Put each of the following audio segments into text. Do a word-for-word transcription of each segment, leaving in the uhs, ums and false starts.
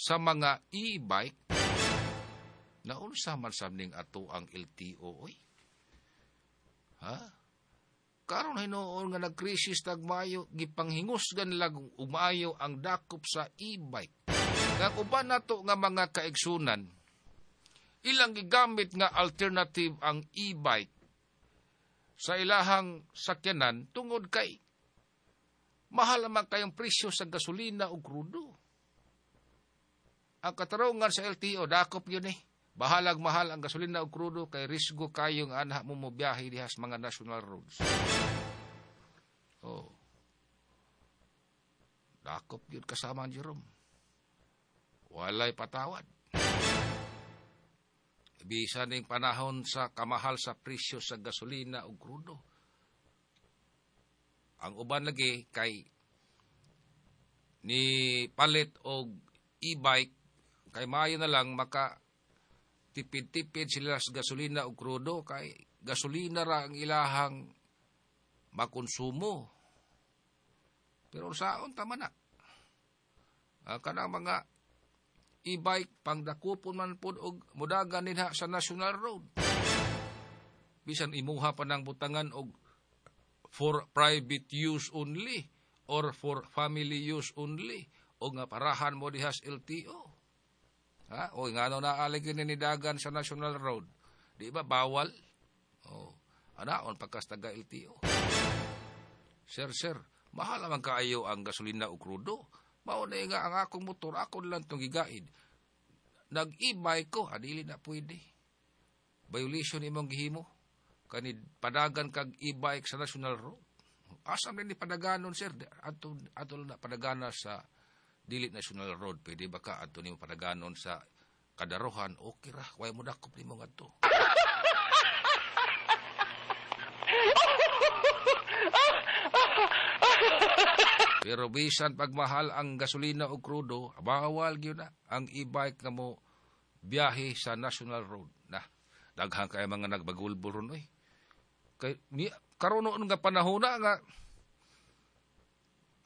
Sa mga e-bike, naunsa man sab ning ato ang L T O oy? Ha? Karon hinuon nga nagkrisis tag maayo, gipanghingusgan lag umayo ang dakop sa e-bike. Nga uban nato nga mga kaigsunan, ilang gigamit nga alternative ang e-bike sa ilahang sakyanan tungod kay mahal naman kayong presyo sa gasolina o krudo. Ang katarungan sa L T O, dakop yun eh. Bahalag mahal ang gasolina o krudo kay risgo kayong anha mo mobiyahe diha sa mga national roads. Oh. Dakop yun, kasama ang Jerome. Walay patawad. Bisan ning panahon sa kamahal sa presyo sa gasolina o krudo. Ang uban lagi kay ni palit og e-bike kay maayo na lang maka tipid-tipid sila sa gasolina o krudo kay gasolina ra ang ilahang makonsumo. Pero saon tama na. Uh, kanang mga e-bike pangdakupon man pod og mudagan dinha sa national road. Bisan imuha pa ng butangan og for private use only or for family use only o nga parahan mo diha sa L T O. Ha? O ngano na alig ni dagan sa national road? Di ba bawal? Oh. Anaon pagkas taga L T O. Sir, sir, mahal naman kaayo ang gasolina o krudo. Mao na nga ang akong motor, ako lang itong gigaid. Nag-e-bike ko, adili na pwede. Violation imong gihimo. Kani padagan kag e-bike sa national road. Asa man ni padaganon, sir? Ato ato na padagana sa dili national road. Pwede ba ka adto nimo padaganon sa kadarohan? Okay ra, way mo dakop nimo ngadto. Pero bisan pagmahal ang gasolina o krudo, bawal gyud na ang e-bike nga mo biyahe sa national road. Na, daghan kay mga nagbagulbol ron oy. Kay ni karon noon nga panahon na nga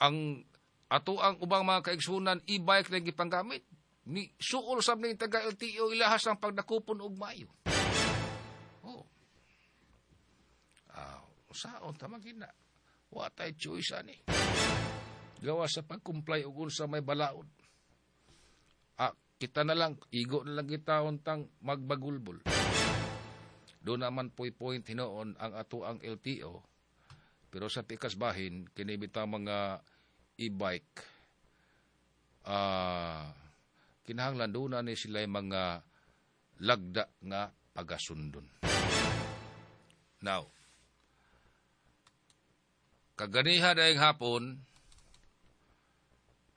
ang ato ang ubang mga kaigsunan e-bike na gipanggamit ni suol sab ning taga L T O ilahas ang pagdakupon og maayo. Oh. Ah, saon ta gina. Wa tay choice ani. Gawa sa pag-comply og unsa may balaod. Ah, kita na lang, igo na lang kita untang magbagulbol. Doon naman po'y point hinoon ang ato ang L T O. Pero sa pikas bahin, kini bitaw mga e-bike, ah, kinahanglan doon na ni sila mga lagda nga pagasundon. Now, kaganiha dayang hapon,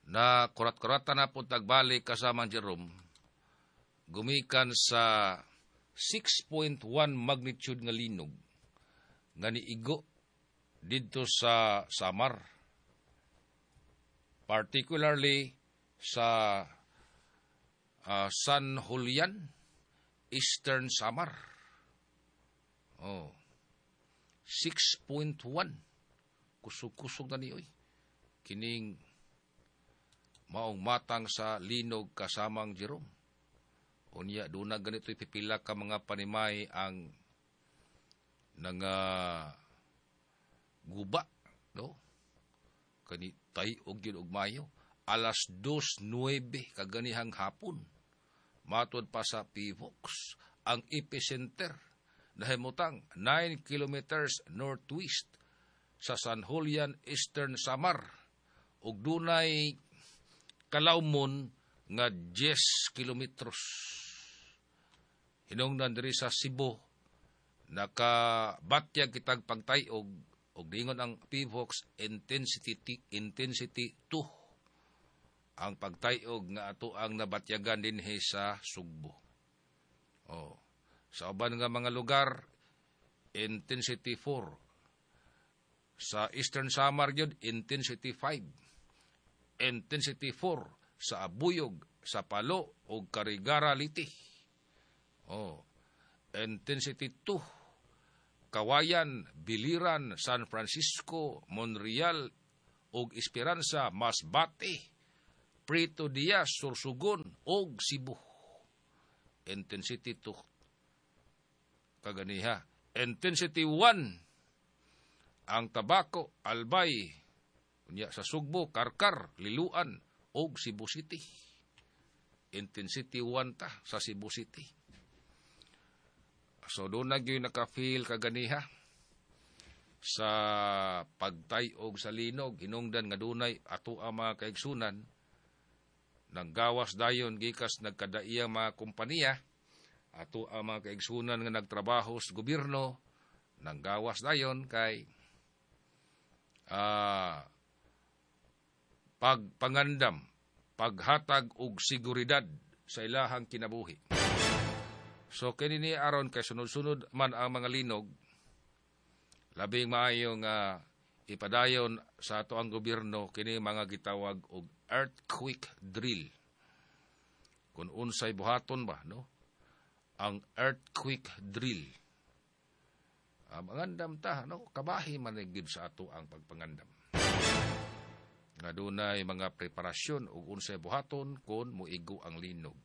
na kurat-kuratan na po tagbalik kasama ang Jerome, gumikan sa six point one magnitude nga linog nga niigo didto sa Samar, particularly sa uh, San Julian, Eastern Samar. Oh. six point one. Kusog-kusog na ni oy. Kining maong matang sa linog, kasamang Jerome. Unya doon na ganito pipila ka mga panimay ang nanga guba, no? Kani tay og yun og mayo alas dos nuwebe kaganihang hapon. Matod pa sa P V O C S, ang epicenter nahimutang nine kilometers northwest sa San Julian, Eastern Samar ug dunay kalawmon nga ten kilometros. Hinungdan diri sa Cebu, nakabatyag kitag pagtayog og dingon ang P V O C S intensity intensity two ang pagtayog nga ato ang nabatyagan dinhi sa Sugbo. Oh. Sa uban nga mga lugar, intensity four. Sa Eastern Samar gyud, intensity five. Intensity four sa Abuyog, sa Palo ug Carigara, Leyte. Oh. Intensity two Kawayan, Biliran, San Francisco, Monreal ug Esperanza, Masbate. Prieto Diaz, Sorsogon og Cebu. Intensity two kaganiha. Intensity one ang Tabaco, Albay, unya sa Sugbo, Carcar, Liloan og Cebu City. Intensity one ta sa Cebu City. So doon na gyud naka-feel kaganiha sa pagtayog sa linog, hinungdan nga dunay ato ang mga kaigsunan nang gawas dayon gikas nagkadaiyang mga kompanya, ato ang mga kaigsunan nga nagtrabaho sa gobyerno nang gawas dayon kay uh, pagpangandam, paghatag og seguridad sa ilahang kinabuhi. So kini ni aron kay sunod-sunod man ang mga linog, labing maayo nga ipadayon sa ato ang gobyerno kini mga gitawag og earthquake drill. Kung unsay buhaton ba, no? Ang earthquake drill. Ah, mangandam ta, no? Kabahi man gid sa ato ang pagpangandam. Nga dunay mga preparasyon ug unsay buhaton kon moigo ang linog.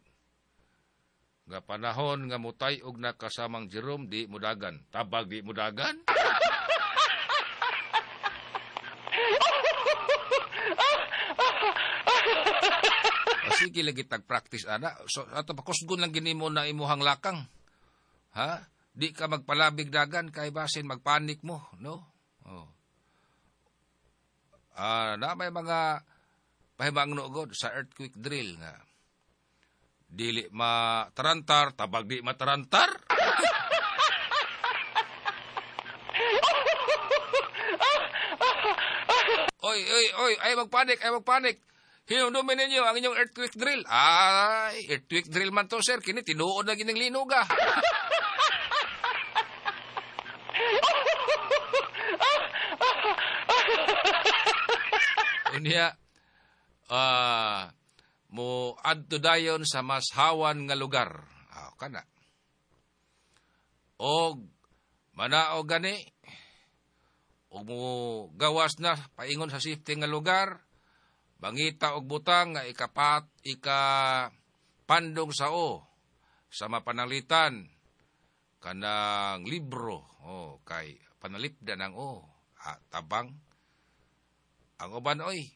Nga panahon nga mutay-og na kasamang Jerome, di mudagan. Tabag di mudagan? Sige lagi tag-practice ana. So ato pakusgon lang gini mo na imuhang lakang. Ha? Di ka magpalabig dagan kay basin magpanik mo, no? Oh. Ah, na may mga pahibangno god sa earthquake drill nga dili matarantar, tabag di matarantar. Oy, oy, oy, ay magpanik, ay magpanik. Hinumdumin ninyo ang inyong earthquake drill. Ay, earthquake drill man to, sir. Kini, tinuod na gining linog, ah. Unya, uh, mo adto dayon sa mas hawan nga lugar. Ah, kana. Og manaog gani, og mo gawas na paingon sa safety nga lugar, bangita og butang nga ikapat ikapandong sa o sa mapanalitan kanang libro, oh, kay panalipdan ang o, ah, tabang ang uban oy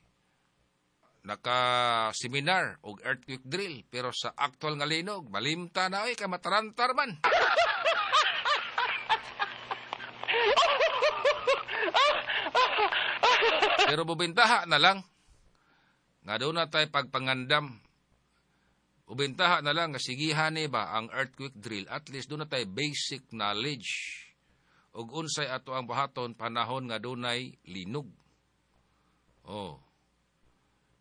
naka-seminar og earthquake drill pero sa actual nga linog malimta na oy kay matarantar man. Pero bubintaha na lang nga doon na tayo pagpangandam. Ubintaha na lang nga sigihan ni ba ang earthquake drill, at least doon na tayo basic knowledge ug unsay ato ang buhaton panahon nga dunay linog. Oh.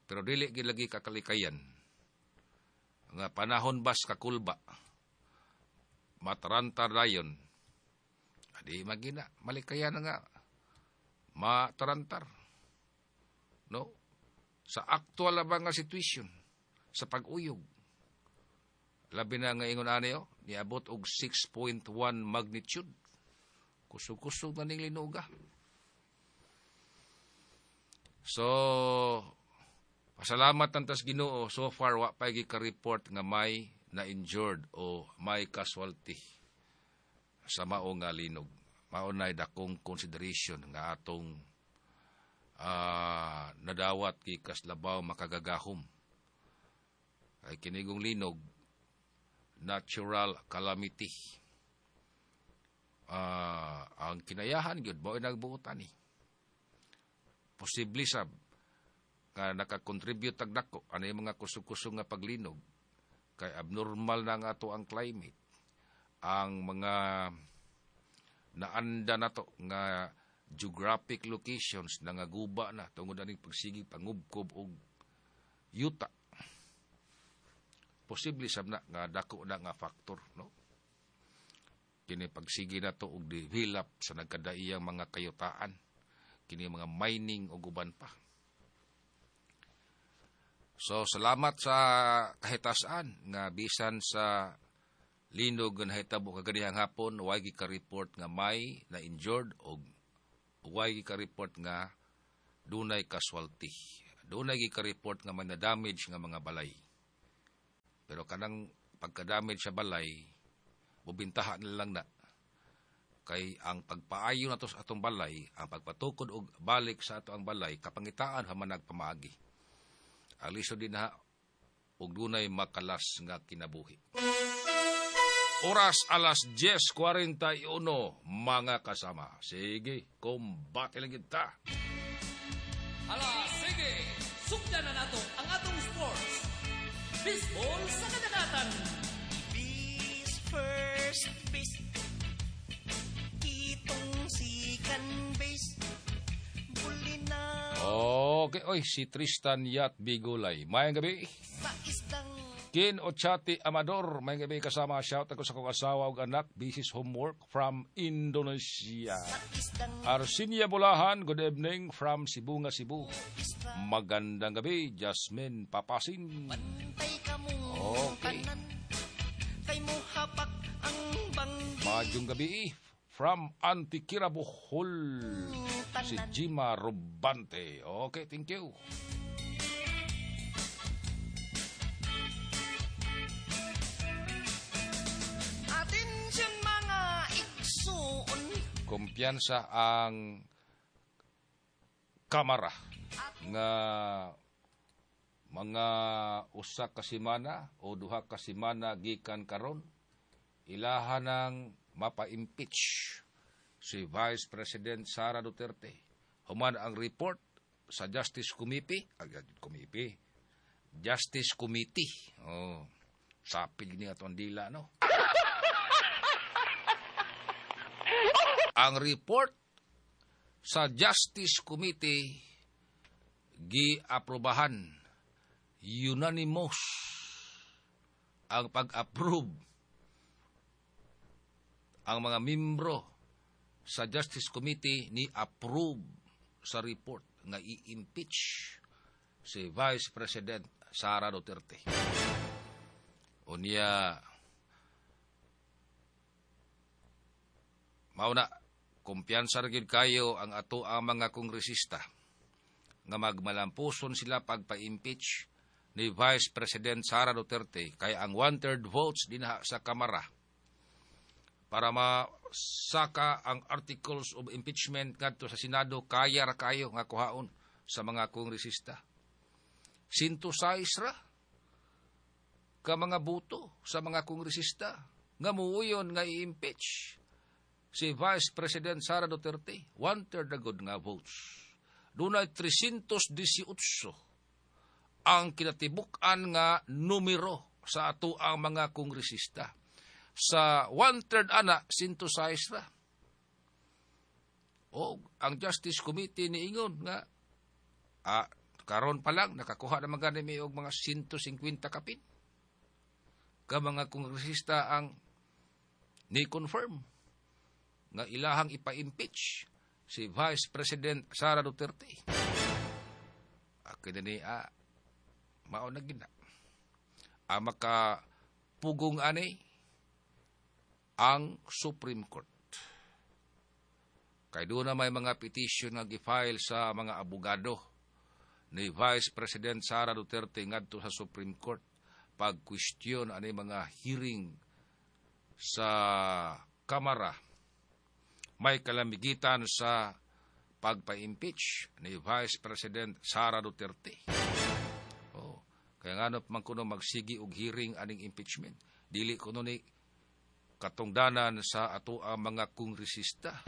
Pero dili gid lagi kakalikayan nga panahon bas kakulba matarantar dayon. Adi magina malikayan nga matarantar. No? Sa aktual ba nga situation sa pag-uyog. Labi na nga ingon ani oh, niabot og six point one magnitude. Kusog-kusog na ning linuga. So, pasalamat tantas Ginoo, so far wa pa gi ka-report nga may na-injured o may casualty sa mao nga linog. Mao nay dakong consideration nga atong uh, nadawat gikas labaw makagagahom. Ay kinigong linog, natural calamity. Uh, ang kinayahan gyud mao nagbuotan ni. Posible sab nga nakakontribute tag dako ano yung mga kusog-kusog nga paglinog kay abnormal na nga ato ang climate, ang mga naanda nato nga geographic locations nangaguba na tungod aning pagsigig pangubkob og yuta. Posible sab na nga dako na nga factor, no? Kini pagsigi nato og develop sa nagkadaiyang mga kayutaan, kini mga mining og uban pa. So salamat sa kahitasan nga bisan sa linog nga nahitabo kaganihang hapon, way gi ka-report nga may na injured og way gi ka-report nga dunay casualty. Doon na ka-report nga may na-damage nga mga balay. Pero kanang pagka-damage sa balay, bubintahan na lang na. Kay ang pagpaayo nato sa atong balay, ang pagpatukod og balik sa ato ang balay, kapangitaan pa man nagpamaagi. Ang lisod din na og dunay makalas nga kinabuhi. Oras alas diyes kwarenta y uno, mga kasama. Sige, kumbate lang kita. Hala, sige, sugdan na nato ang atong sports. Baseball sa kadagatan. Base first base, kitong second base, bulina. Okay, oy, si Tristan Yat Bigulay. Mayang gabi. Sa isdang Kin Ochati Amador, may gabi kasama. Shout ako sa kong asawa ug anak, busy homework from Indonesia. Arsinia Bulahan, good evening from Sibunga, Cebu. Magandang gabi, Jasmine Papasin. Okay. Maayong gabi from Antiquera, Bohol, si Jima Robante. Okay, thank you. Kumpiyansa ang kamara nga mga usa ka semana o duha ka semana gikan karon ilaha nang mapa-impeach si Vice President Sara Duterte. Human ang report sa Justice Committee, ag Committee, Justice Committee. Oh, sapil ni atong dila, no? Ang report sa Justice Committee giaprobahan unanimous ang pag-approve ang mga membro sa Justice Committee ni approve sa report nga i-impeach si Vice President Sara Duterte. Unya, mao na, kumpiyansa ra gyud kayo ang ato ang mga kongresista nga magmalampuson sila pagpa-impeach ni Vice President Sara Duterte kay ang one-third votes dinha sa Kamara para masaka ang articles of impeachment ngadto sa Senado, kaya ra kayo nga kuhaon sa mga kongresista. Sinto sais ra ka mga boto sa mga kongresista nga muuyon nga i-impeach si Vice President Sara Duterte, one-third na good nga votes. Dunay trescientos diesiocho ang kinatibuk-an nga numero sa ato ang mga kongresista. Sa one-third ana, one oh six ra. O, ang Justice Committee niingon nga, ah, karon pa lang, nakakuha na mga gani og mga one fifty kapin. Ka mga kongresista ang ni-confirm nga ilahang ipa-impeach si Vice President Sara Duterte. Akin ni, ah, mao na gina. Ang makapugong ani ang Supreme Court. Kay doon na may mga petition nga gi-file sa mga abogado ni Vice President Sara Duterte ngadto sa Supreme Court pag-question ani mga hearing sa Kamara. May kalamigitan sa pagpa-impeach ni Vice President Sara Duterte. Oh, kaya nga man kuno magsigi og hearing aning impeachment. Dili kuno ni katungdanan sa ato ang mga kongresista.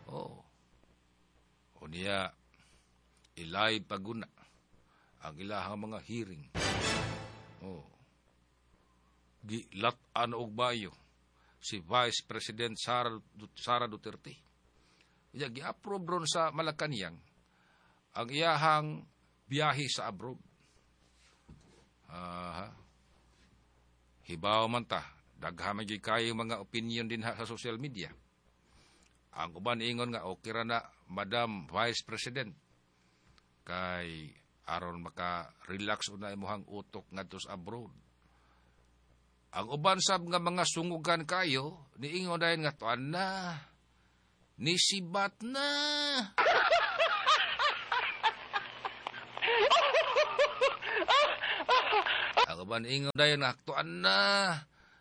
Oh. Unya ilay paguna ang ilahang mga hearing. Oh. Gilat-an og bayo si Vice President Sara, Sara Duterte. Iya, gi-approve ron sa Malacanang ang iyahang biyahe sa abroad. Aha. Hibaw man ta, daghan man gyud kayo mga opinion din ha sa social media. Ang uban ingon nga okay ra na Madam Vice President kay aron maka-relax una imong utok ngadto sa abroad. Ang uban sab nga mga sungugan kayo, niingon dayon nga tuan na, nisibat na. Ang uban ingon dayon nga aktuan na.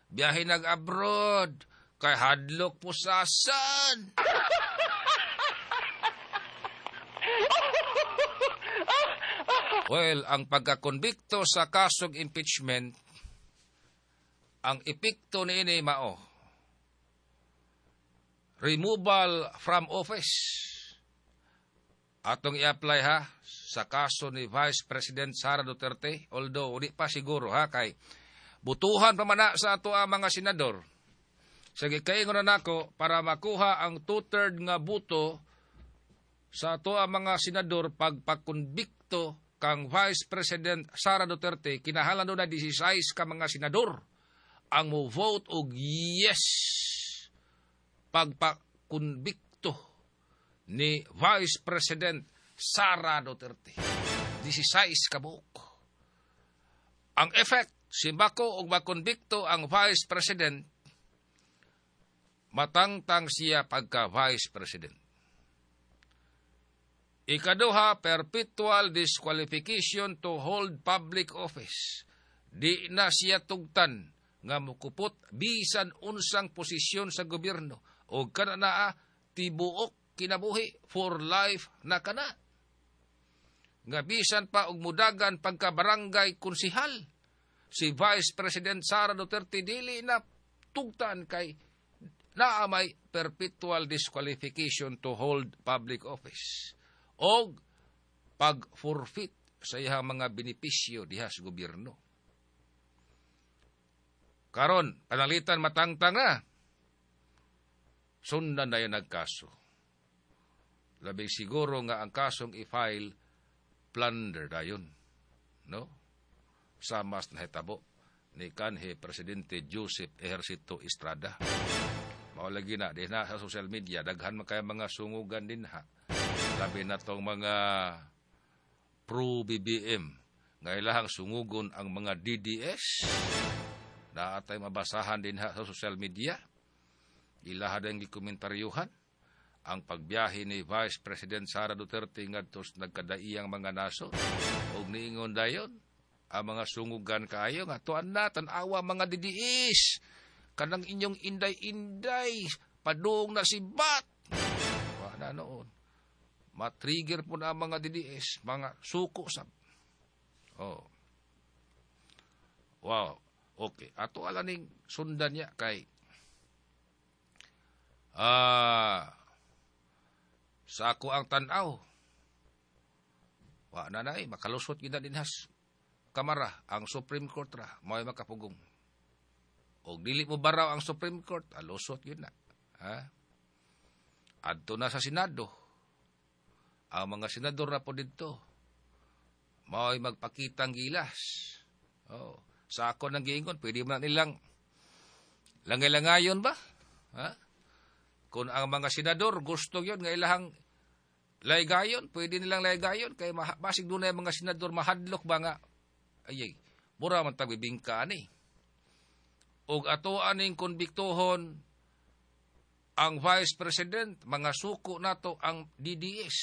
Biyahe nag-abroad. Kay hadlok pusasan. Well, ang pagkakonbikto sa kasong impeachment, ang epekto niini mao removal from office. Atong i-apply ha sa kaso ni Vice President Sara Duterte, although di pa siguro ha kay butuhan pa man na sa ato ang mga senador. Sige, kaingon na nako para makuha ang two-third nga buto sa ato ang mga senador pagpakonbikto kang Vice President Sara Duterte, kinahanglan na labing-siyam ka mga senador ang mo vote og yes pagpakonbikto ni Vice President Sara Duterte. labing-siyam ka buok. Ang effect, simbako og makonbikto ang Vice President, matangtang siya pagka Vice President. Ikaduha, perpetual disqualification to hold public office. Di na siya tugtan nga mukupot bisan unsang posisyon sa gobyerno o kana naa tibuok kinabuhi for life na kana. Nga bisan pa og mudagan pagka barangay konsihal, si Vice President Sara Duterte dili na tugtan kay naa may perpetual disqualification to hold public office og pag-forfeit sa iyang mga benepisyo diha sa gobyerno. Karon, panalitan matangtang na. Sundan na yan nagkaso. Labi siguro nga ang kasong i-file plunder dayon. No? Sa mas nahitabo ni kanhi Presidente Joseph Ejercito Estrada. Mao lagi na, di na sa social media, daghan man kaya mga sungugan din ha. Labi na tong mga pro-B B M. Nga ilahang sungugon ang mga D D S. Naatay mabasahan din ha sa social media. Ilaha din gikomentaryohan ang pagbiyahe ni Vice President Sara Duterte ngadto sa nagkadaiyang mga nasod. Og niingon dayon ang mga sungugan kaayo nga tuan na tan-awa mga D D S. Kanang inyong inday-inday padung na si Bat. Wa na noon. Matrigger po na ang mga D D S, mga suko sab. Oh. Wow. Okay. Ato ala ning sundan niya kay ah sa ako ang tan-aw. Wa na nay makalusot gyud na dinhas kamara ang Supreme Court ra mao'y makapugong. Og dili mo baraw ang Supreme Court, alusot gyud na. Ha? Adto na sa Senado. Ang mga senador na po dito mao'y magpakitang gilas. Oh, sa ako nang giingon, pwede man nilang langay-langayon ba? Ha? Kung ang mga senador gusto yun nga ilahang laygayon, pwede nilang laygayon kay basig dunay mga senador mahadlok ba nga ay, ay mura man tagbibingka ani. Og ato aning konbiktohon ang Vice President, mga suko nato ang D D S.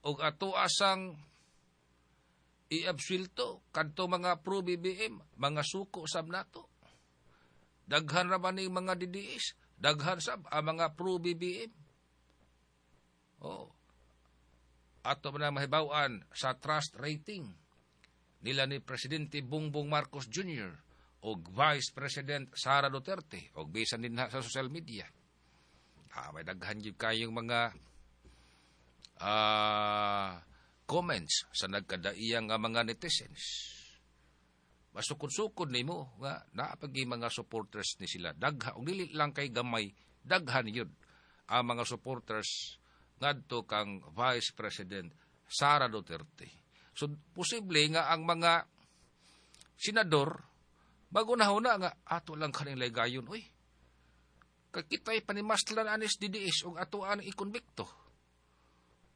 Og ato asang iabsuelto kadto mga pro-B B M, mga suko sab nato. Daghan ra ba ning mga D D S? Daghan sab ang mga pro-B B M. Oh. Ato man mahibaw-an sa trust rating nila ni Presidente Bongbong Marcos Junior og Vice President Sara Duterte og bisan din sa social media. Ah, may daghan gyud kayong mga ah, comments sa nagkadaiyang nga mga netizens. Masukod-sukod nimo nga naapagi mga supporters ni sila. Dagha og dili lang kay gamay, daghan yun ang mga supporters ngadto kang Vice President Sara Duterte. So posible nga ang mga senador bago na huna nga ato lang kaning laygayon, oy. Kay kita'y panimaslan anis D D S og ato ang ikonbikto.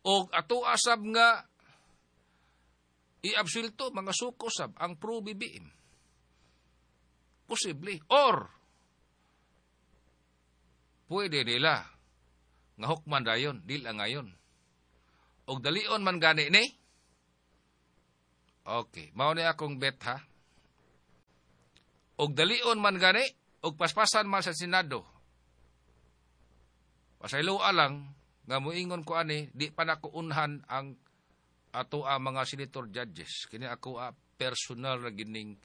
Og ato asab nga iabsulto mga suko sab ang pro-B B M. Posible. Or pwede nila nga hukman dayon, dili ang ngayon. Og dalion man gani ni. Okay, mao ni akong bet ha. Og dalion man gani, og paspasan man sa Senado. Pasayloa lang nga moingon ko ani, di pa nako unhan ang ato ang mga senator judges. Kini ako a personal ra gining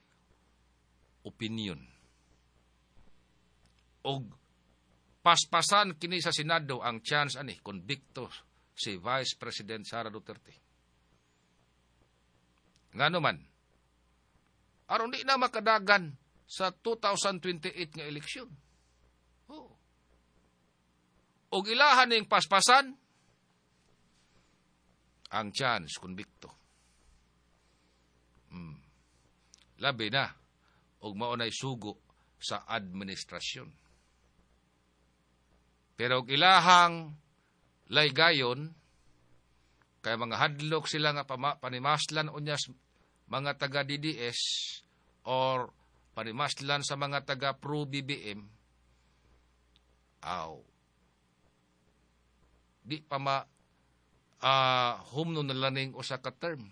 opinion. Og paspasan kini sa Senado ang chance ani convicto si Vice President Sara Duterte. Ngano man, aron di na makadagan sa two thousand twenty-eight nga eleksyon. Oh. Og ilahan ning paspasan ang chance convicto. Mm. Labi na og mao nay sugo sa administrasyon. Pero og ilahang laygayon kay mga hadlok sila nga panimaslan unya mga taga D D S or panimaslan sa mga taga pro B B M, aw di pa ma uh, humno na laning usa ka term.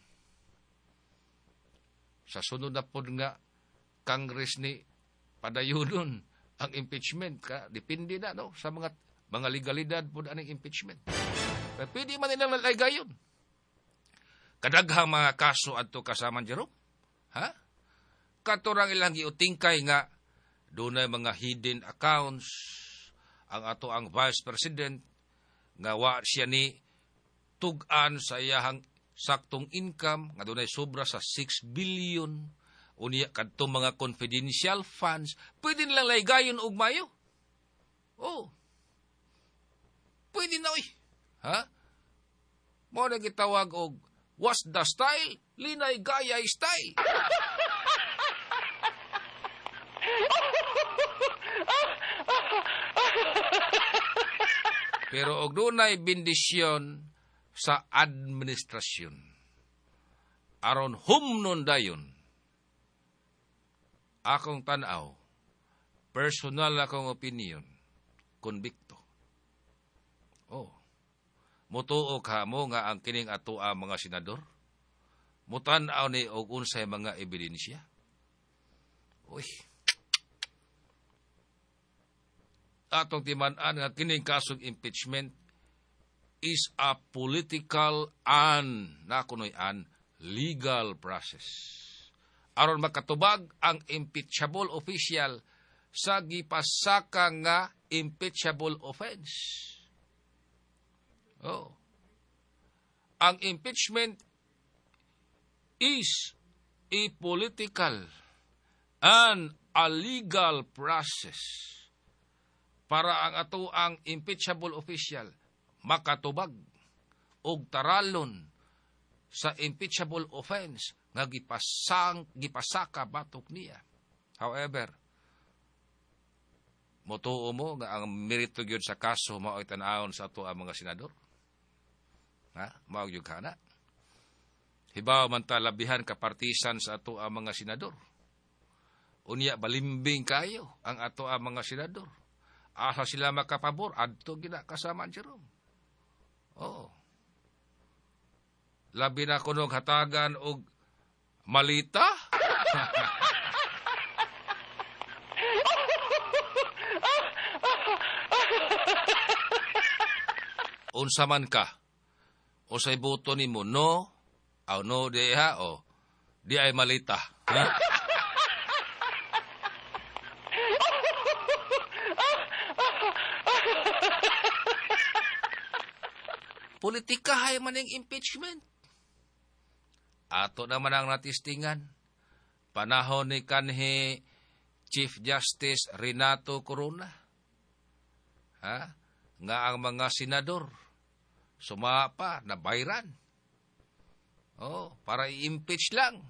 Sa sunod na pod nga Congress ni padayunon ang impeachment ka, depende na no sa mga mga legalidad pod aning impeachment. Pero pwede man nilang laygayon. Kadaghang mga kaso adto kasaman Jerome. Ha? Katurang ilang giutingkay nga dunay mga hidden accounts ang ato ang Vice President nga wa siya ni tug-an sa iyahang saktong income nga dunay sobra sa six billion unya kadtong mga confidential funds, pwede nilang laygayon og mayo. Oh. Pwede na oy. Ha? Mo na gitawag og what's the style? Linay gayay style. Pero og dunay bendisyon sa administrasyon, aron humnon dayon, akong tan-aw, personal akong opinion, konbikto. Oh. Mutuo ka mo nga ang kining atoa mga senador? Mutan-aw ni og unsay mga ebidensya? Uy. Atong timan-an nga kining kasong impeachment is a political and nakunoy an legal process. Aron makatubag ang impeachable official sa gipasaka nga impeachable offense. Oh. Ang impeachment is a political and a legal process para ang ato ang impeachable official makatubag og taralon sa impeachable offense nga gipasang gipasaka batok niya. However, motuo mo nga ang merito gyud sa kaso mao'y tan-awon sa ato ang mga senador. Ha? Mao gyud kana. Hibaw man ta labihan ka partisan sa ato ang mga senador. Unya balimbing kayo ang ato ang mga senador. Asa sila makapabor adto gina kasama ang Jerome. Oo. Labi na kunog hatagan og malita. Unsa man ka, usay boto nimo no, aw no di ha o di ay malita. Ha? Politika hay man ang impeachment. Ato naman ang natistingan. Panahon ni kanhi Chief Justice Renato Corona. Ha? Nga ang mga senador sumapa na bayran. Oh, para i-impeach lang.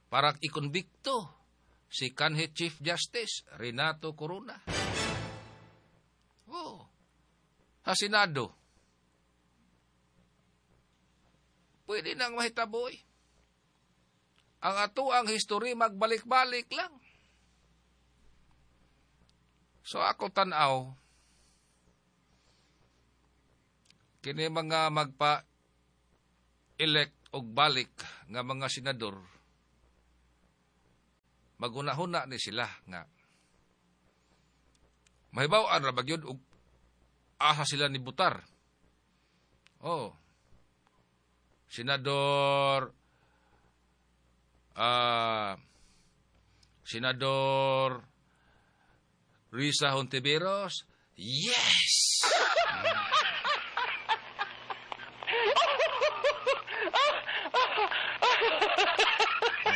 Para ikonbikto si kanhi Chief Justice Renato Corona. Oh. Sa Senado, pwede nang mahitaboy. Ang ato ang history magbalik-balik lang. So ako tan-aw, kini mga magpa-elect og balik nga mga senador, Magunahuna ni sila nga mahibaw-an ra ba gyud og asa sila ni butar. Oh. Senador ah uh, Senador Risa Hontiveros, yes.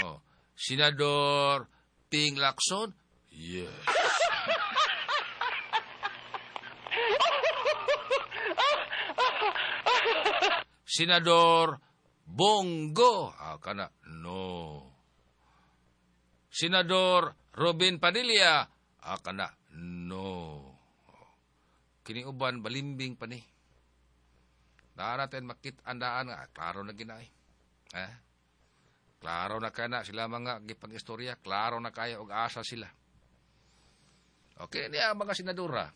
Oh. Senador Ping Lacson, yes. Senador Bongo, ah, kana, no. Senador Robin Padilla, ah, kana, no. Kini uban balimbing pa ni. Daan natin makit-andaan nga, klaro na ginay. Eh? Klaro na kaya na sila mga gipag-istorya, klaro na kaya og asa sila. Okay, niya ang mga senadora.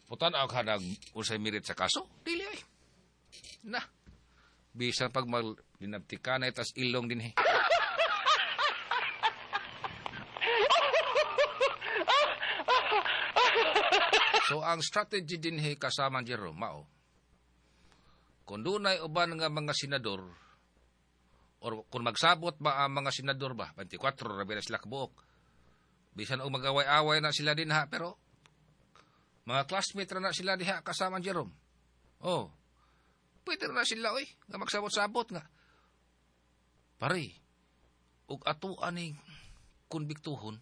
Putan-aw ka nag unsay merit sa kaso? Dili ay. Na. Bisan pag maglinabtika na itas ilong din eh. So ang strategy din he kasama Jerome mao. Kung dunay uban nga mga senador or kung magsabot ba ang mga senador ba, twenty-four ra ba sila kabuok. Bisan og magaway-away na sila dinha pero mga classmate ra na sila diha kasama Jerome. Oh. Pwede na sila oy nga magsabot-sabot nga. Pare, og ato aning konbiktuhon,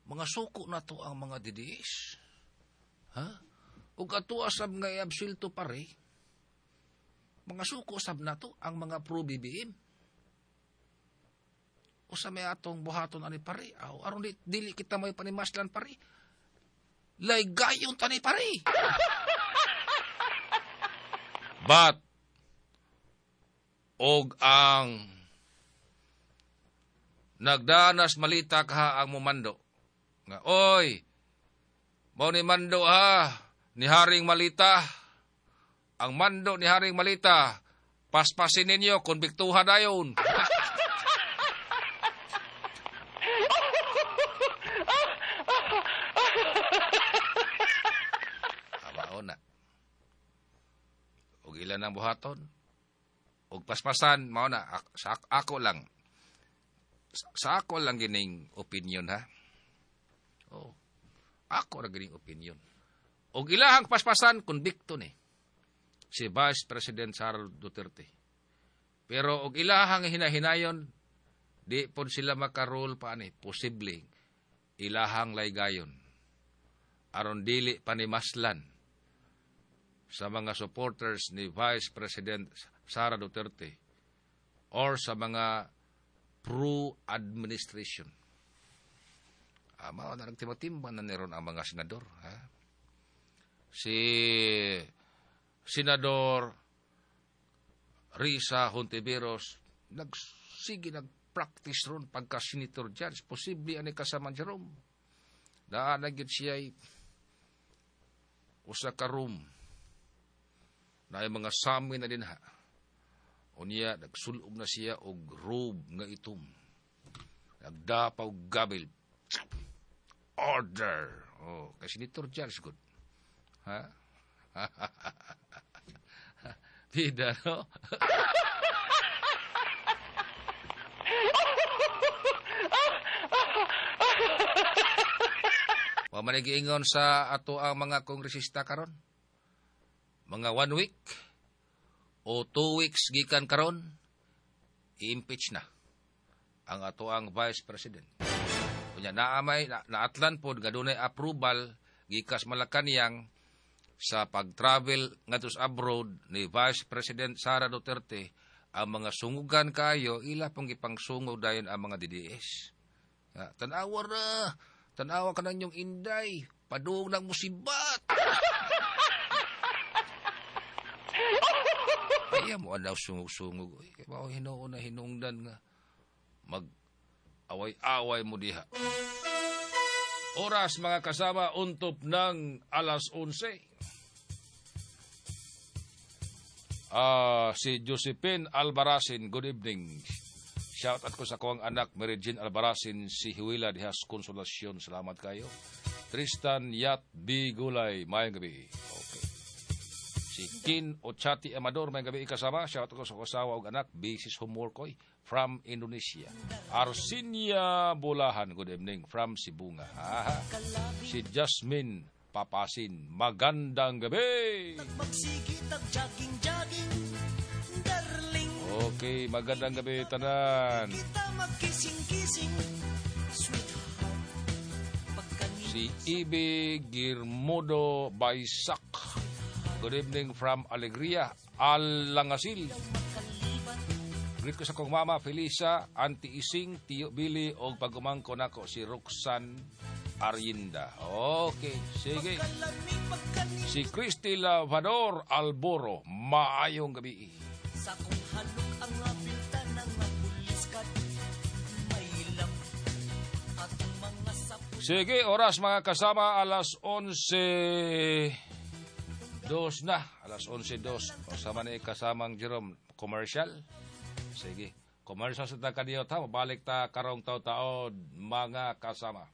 mga suko na to ang mga D D S. Ha? Og ato sab nga iabsulto pare, mga suko sab nato ang mga pro-B B M. Usa may atong buhaton ani pare, aw aron di, dili kita may panimaslan pare. Laygayon tani pare. But og ang nagdanas malita ka ang mumando nga, oy, mao ni mando ha ni Haring Malita. Ang mando ni Haring Malita, paspasin ninyo, konbiktuha dayon. Mao na. Og ilan ang buhaton? Og paspasan, mao na, sa ako lang. Sa ako lang gining opinion ha. Oh. Ako ra gining opinion. Og ilahang paspasan, konbikto ni si Vice President Sara Duterte. Pero og ilahang hinahinayon, di pod sila makarol pa ani, posible ilahang laygayon aron dili panimaslan sa mga supporters ni Vice President Sara Duterte or sa mga pro-administration. Ah, mao na nagtimba-timba na niron ang mga senador. Ha? Si Senador Risa Hontiveros nagsige nagpractice ron pagka senator judge, posible ani kasama Jerome. Naa na gyud siya usa ka room na ay mga sami na dinha. Unya nagsulob na siya og robe nga itom. Nagdapa og gabil. Order. Oh, kay senator judge good. Ha? Bida, no? Wa man giingon sa ato ang mga kongresista karon. Mga one week o two weeks gikan karon, i-impeach na ang ato ang Vice President. Unya naamay na, naatlan pod nga dunay approval gikas Malacañang sa pag-travel ngadto sa abroad ni Vice President Sara Duterte. Ang mga sungugan kayo ila pong gipangsungog dayon ang mga D D S. Tan-awa ra, tan-awa ka nang inyong inday, padung ng musibat. Kaya mo anaw sungog-sungog. Kaya mao hinuon na hinungdan nga mag-away-away mo diha. Oras mga kasama, untop ng alas onse. Ah, si Josephine Albaracin, good evening. Shout out ko sa akong anak Mary Jean Albaracin, si Huila diha sa Konsolasyon. Salamat kayo. Tristan Yat Bigulay, maayong gabi. Okay. Si Kin Ochati Amador, maayong gabi kasama. Shout out ko sa asawa ug anak, Bisis Homework oy, from Indonesia. Arsinia Bulahan, good evening, from Sibonga. Aha. Si Jasmine Papasin, magandang gabi. Magsige tag jogging jogging darling. Okay, magandang gabi tanan. Kita magkissing-kissing, sweetheart. Pagkanin Si Ibi Girmodo Baisak. Good evening from Alegria, Alangasil. Makaliban. Greet ko sa kong mama, Felisa, Auntie Ising, Tiyo Billy, o pagumangko nako si Roxanne Arienda. Okay, sige. Pagkalami pagkanin Si Christy Lavador Alboro, maayong gabi. Sa kong halok ang abilta ng pulis kat mailap atong mga sapul. Sige, oras mga kasama, alas onse dos na. Alas onse dos. Kasama ni kasamang Jerome, commercial. Sige, commercial sa takadiyot ha. Mabalik ta karong taon-taon, mga kasama.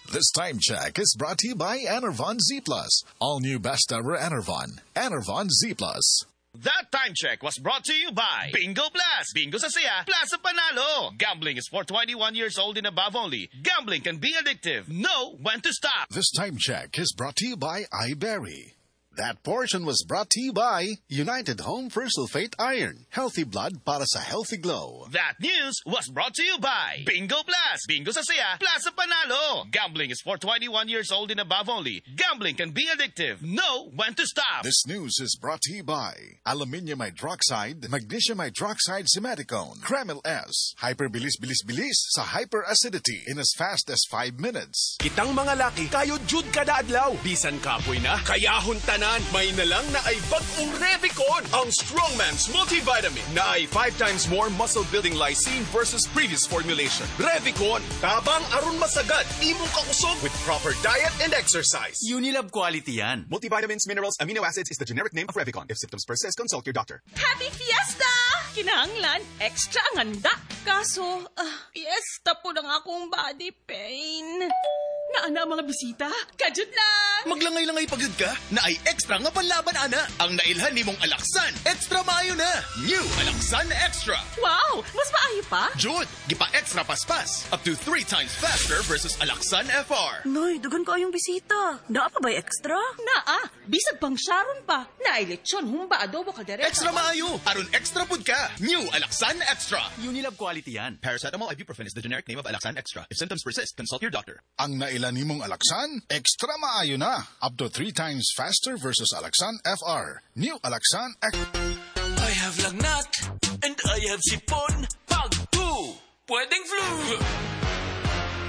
This time check is brought to you by Enervon Z Plus. All new best ever Enervon. Enervon Z Plus. That time check was brought to you by Bingo Blast. Bingo sa saya, plus sa panalo. Gambling is for twenty-one years old and above only. Gambling can be addictive. Know when to stop. This time check is brought to you by iBerry. That portion was brought to you by United Home Sulfate Iron. Healthy blood para sa healthy glow. That news was brought to you by Bingo Blast. Bingo sa saya, plus sa panalo. Gambling is for twenty-one years old and above only. Gambling can be addictive. Know when to stop. This news is brought to you by Aluminium Hydroxide, Magnesium Hydroxide Simeticone, Kremil S. Hyper bilis bilis bilis sa hyperacidity in as fast as five minutes. Kitang mga laki, kayo jud kada adlaw. Bisan kapoy na, kayahon tanan. May nalang na ay bag-ong Revicon, ang Strongman's Multivitamin na ay five times more muscle-building lysine versus previous formulation. Revicon, tabang aron masagad, imong kakusog with proper diet and exercise. Unilab quality yan. Multivitamins, minerals, amino acids is the generic name of Revicon. If symptoms persist, consult your doctor. Happy Fiesta! Kinahanglan, extra ang handa. Kaso, ah, fiesta po ng akong body pain. Naana ang mga bisita? Kadyot lang! Maglangay-langay pa gyud ka na ay extra nga panlaban ana. Ang nailhan nimong Alaxan, extra maayo na. New Alaxan Extra. Wow! Mas maayo pa? Jud, gipa extra paspas. Up to three times faster versus Alaxan F R. Noy, dugan kaayong bisita. Naa pa ba'y extra? Naa, bisag pang Sharon pa. Naay lechon, humba, adobo, kaldereta. Extra maayo. Aron extra pud ka. New Alaxan Extra. Unilab quality yan. Paracetamol ibuprofen is the generic name of Alaxan Extra. If symptoms persist, consult your doctor. Ang naila nimong Alaxan, extra maayo na. Up to three times faster versus Alaxan F R. New Alaxan X. I have lagnat and I have sipon. Pag two, pwedeng flu.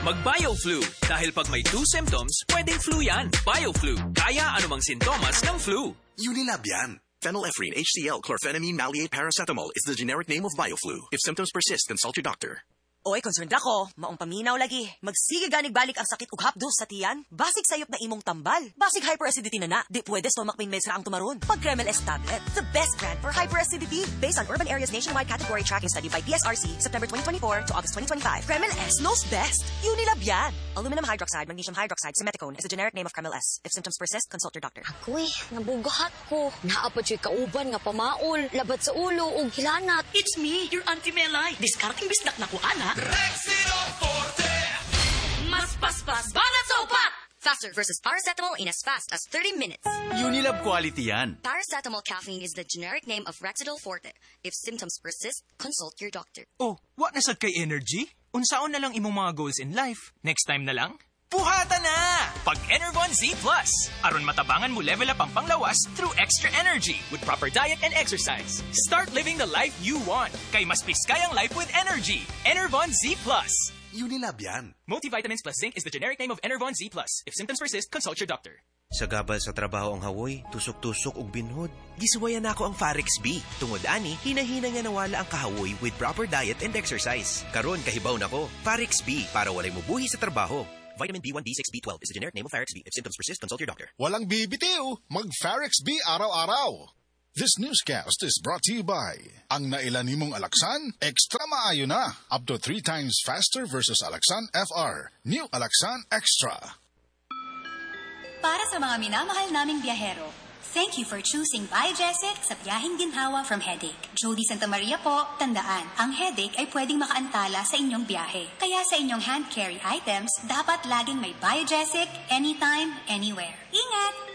Mag-BioFlu dahil pag may two symptoms, pwedeng flu yan. BioFlu, kaya anumang sintomas ng flu. Unilab yan. Phenylephrine H C L chlorphenamine maleate paracetamol is the generic name of BioFlu. If symptoms persist, consult your doctor. Oy, concerned ako. Maong paminaw lagi. Magsige ganig balik ang sakit ug hapdos sa tiyan. Basig sayop na imong tambal. Basig hyperacidity na na. Di pwede stomach pain meds ra ang tumaron. Pag Kremil S tablet, the best brand for hyperacidity. Based on Urban Areas Nationwide Category Tracking Study by P S R C, September twenty twenty-four to August twenty twenty-five. Kremil S knows best. Unilab yan. Aluminum hydroxide, magnesium hydroxide, simeticone is a generic name of Kremil S. If symptoms persist, consult your doctor. Ako'y, nabugat ko. Naa pa juy kauban nga pamaol, labad sa ulo ug hilanat. It's me, your Auntie Melay. Diskarteng bisdak na ko, ana. Rexidol Forte. Mas paspas, banat sa upat! Faster versus paracetamol in as fast as thirty minutes. Unilab quality yan. Paracetamol caffeine is the generic name of Rexidol Forte. If symptoms persist, consult your doctor. Oh, wa na sad kay energy? Unsaon na lang imong mga goals in life? Next time na lang? Buhata na! Pag Enervon Z Plus. Aron matabangan mo level up ang panglawas through extra energy with proper diet and exercise. Start living the life you want. Kay mas piskay ang life with energy. Enervon Z Plus. Unilab yan. Multivitamins plus zinc is the generic name of Enervon Z Plus. If symptoms persist, consult your doctor. Sagabal sa trabaho ang hawoy, tusok-tusok ug binhod. Gisuwayan nako ang Farex B. Tungod ani, hinahina nga nawala ang kahawoy with proper diet and exercise. Karon kahibaw nako, Farex B para walay mubuhi sa trabaho. Vitamin B one, B six, B twelve is the generic name of Farex B. If symptoms persist, consult your doctor. Walang bibitiw, mag-Farex B araw-araw. This newscast is brought to you by Ang naila nimong Alaxan, extra maayo na. Up to three times faster versus Alaxan FR. New Alaxan Extra. Para sa mga minamahal naming biyahero, thank you for choosing Biogesic sa biyaheng ginhawa from headache. Jody Santa Maria po, tandaan, ang headache ay pwedeng makaantala sa inyong biyahe. Kaya sa inyong hand-carry items, dapat laging may Biogesic anytime, anywhere. Ingat!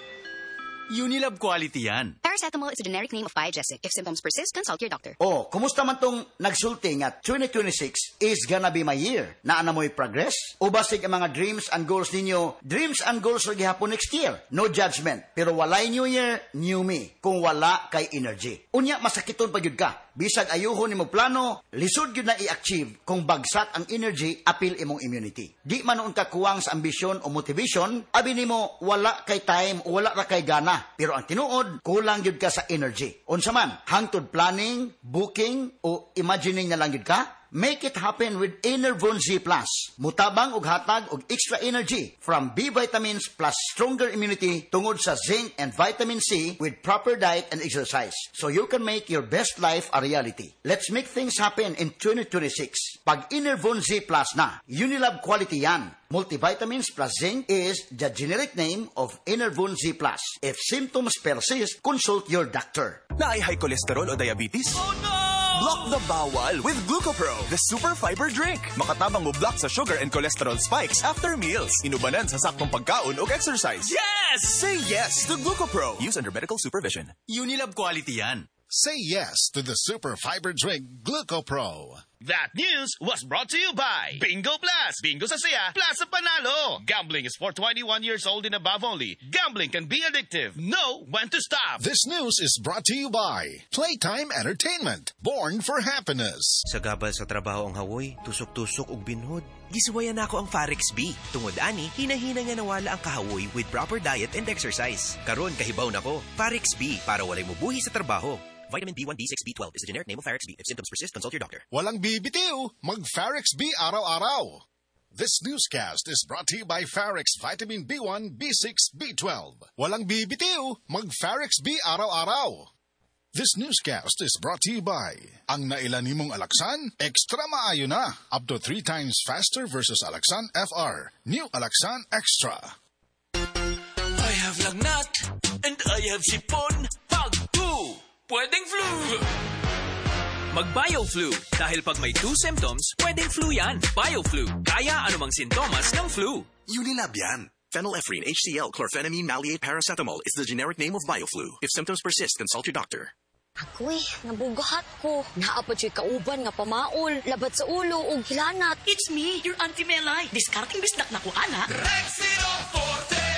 Unilab quality yan. Paracetamol is a generic name of Biogesic. If symptoms persist, consult your doctor. Oh, kumusta man tong nagsulti nga twenty twenty-six is gonna be my year? Naa na mo'y progress? O basig ang mga dreams and goals ninyo, dreams and goals ra gihapon next year. No judgment, pero walay new year, new me. Kung wala kay energy. Unya masakiton pa gyud ka. Bisag ayuhon nimo plano, lisod gyud na i-achieve kung bagsak ang energy apil imong immunity. Di man nuon ka kuwang sa ambisyon o motivation, abi nimo wala kay time o wala ra kay gana. Pero ang tinuod, kulang gyud ka sa energy. Unsa man, hangtod planning, booking o imagining na lang gyud ka? Make it happen with Enervon Z Plus. Mutabang og hatag og extra energy from B vitamins plus stronger immunity tungod sa zinc and vitamin C with proper diet and exercise. So you can make your best life a reality. Let's make things happen in twenty twenty-six. Pag Enervon Z Plus na, Unilab quality yan. Multivitamins plus zinc is the generic name of Enervon Z Plus. If symptoms persist, consult your doctor. Naay high cholesterol o diabetes? Oh no! Block the bawal with GlucoPro, the super fiber drink. Makatabang mo block sa sugar and cholesterol spikes after meals. Inubanan sa saktong pagkaon o exercise. Yes! Say yes to GlucoPro. Use under medical supervision. Unilab quality yan. Say yes to the super fiber drink GlucoPro. That news was brought to you by Bingo Plus. Bingo sa saya, plus sa panalo. Gambling is for twenty-one years old and above only. Gambling can be addictive. Know when to stop. This news is brought to you by Playtime Entertainment, born for happiness. Sagabal sa trabaho ang hawoy, tusok-tusok ug binhod. Gisuwayan nako ang Farex B. Tungod ani, hinahina nga nawala ang kahawoy with proper diet and exercise. Karon kahibaw nako, Farex B para walay mubuhi sa trabaho. Vitamin B one, B six, B twelve is the generic name of Farex B. If symptoms persist, consult your doctor. Walang bibitiw, mag-Farex B araw-araw. This newscast is brought to you by Farex Vitamin B one, B six, B twelve. Walang bibitiw, mag-Farex B araw-araw. This newscast is brought to you by Ang naila nimong Alaxan, extra maayo na. Up to three times faster versus Alaxan F R. New Alaxan Extra. I have lagnat and I have sipon. Pag two, pwedeng flu. Mag-BioFlu dahil pag may two symptoms, pwedeng flu yan. BioFlu, kaya anumang sintomas ng flu. Unilab yan. Phenylephrine H C L chlorphenamine maleate paracetamol is the generic name of BioFlu. If symptoms persist, consult your doctor. Agoy, nabugahat ko. Naa pa juy kauban nga pamaol, labad sa ulo ug hilanat. It's me, your Auntie Melay. Diskarteng bisdak na ko, ana. Rexidol Forte!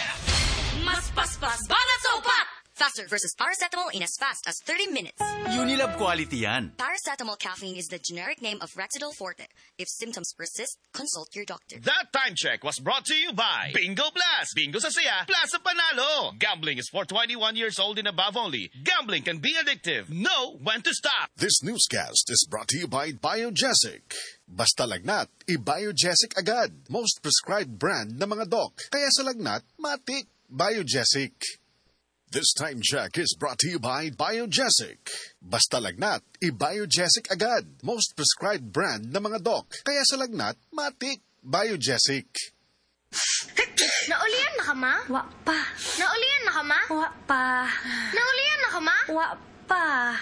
Mas paspas, banat sa upat! Faster versus paracetamol in as fast as thirty minutes. Unilab quality yan. Paracetamol caffeine is the generic name of Rexidol Forte. If symptoms persist, consult your doctor. That time check was brought to you by Bingo Plus. Bingo sa saya, plus sa panalo. Gambling is for twenty-one years old and above only. Gambling can be addictive. Know when to stop. This newscast is brought to you by Biogesic. Basta lagnat, i-Biogesic agad. Most prescribed brand ng mga doc. Kaya sa lagnat, matik, Biogesic. This time check is brought to you by Biogesic. Basta lagnat, i-Biogesic agad. Most prescribed brand ng mga doc. Kaya sa lagnat, matik, Biogesic. Naulian na ka, ma? Wa pa. Naulian na ka, ma? Wa pa. Naulian na ka, ma? Wa pa.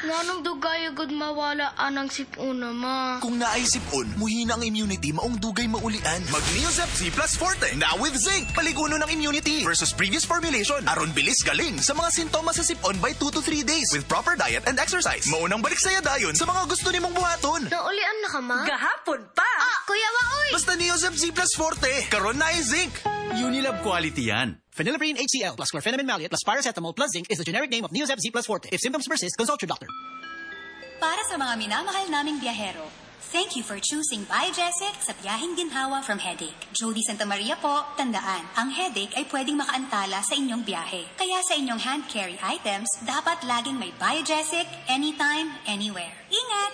Nganong dugay gud mawala anang sipuna, ma? Kung naay sipon, muhina ang immunity, maong dugay maulian. Mag Neozep Z Plus Forte, now with zinc, paliguno ng immunity versus previous formulation. Aron bilis galing sa mga sintomas sa sipon by two to three days with proper diet and exercise. Maunang balik saya dayon sa mga gusto nimong buhaton. Naulian na ka, ma? Gahapon pa. Ah, kuya wa oy! Basta Neozep Z Plus Forte, karon naay zinc. Unilab quality yan. Phenylephrine H C L plus chlorphenamine maleate plus paracetamol plus zinc is the generic name of Neozep Z Plus Forte. If symptoms persist, consult your doctor. Para sa mga minamahal naming biyahero, thank you for choosing Biogesic sa biyaheng ginhawa from headache. Jody Santa Maria po, tandaan, ang headache ay pwedeng makaantala sa inyong biyahe. Kaya sa inyong hand-carry items, dapat laging may Biogesic anytime, anywhere. Ingat!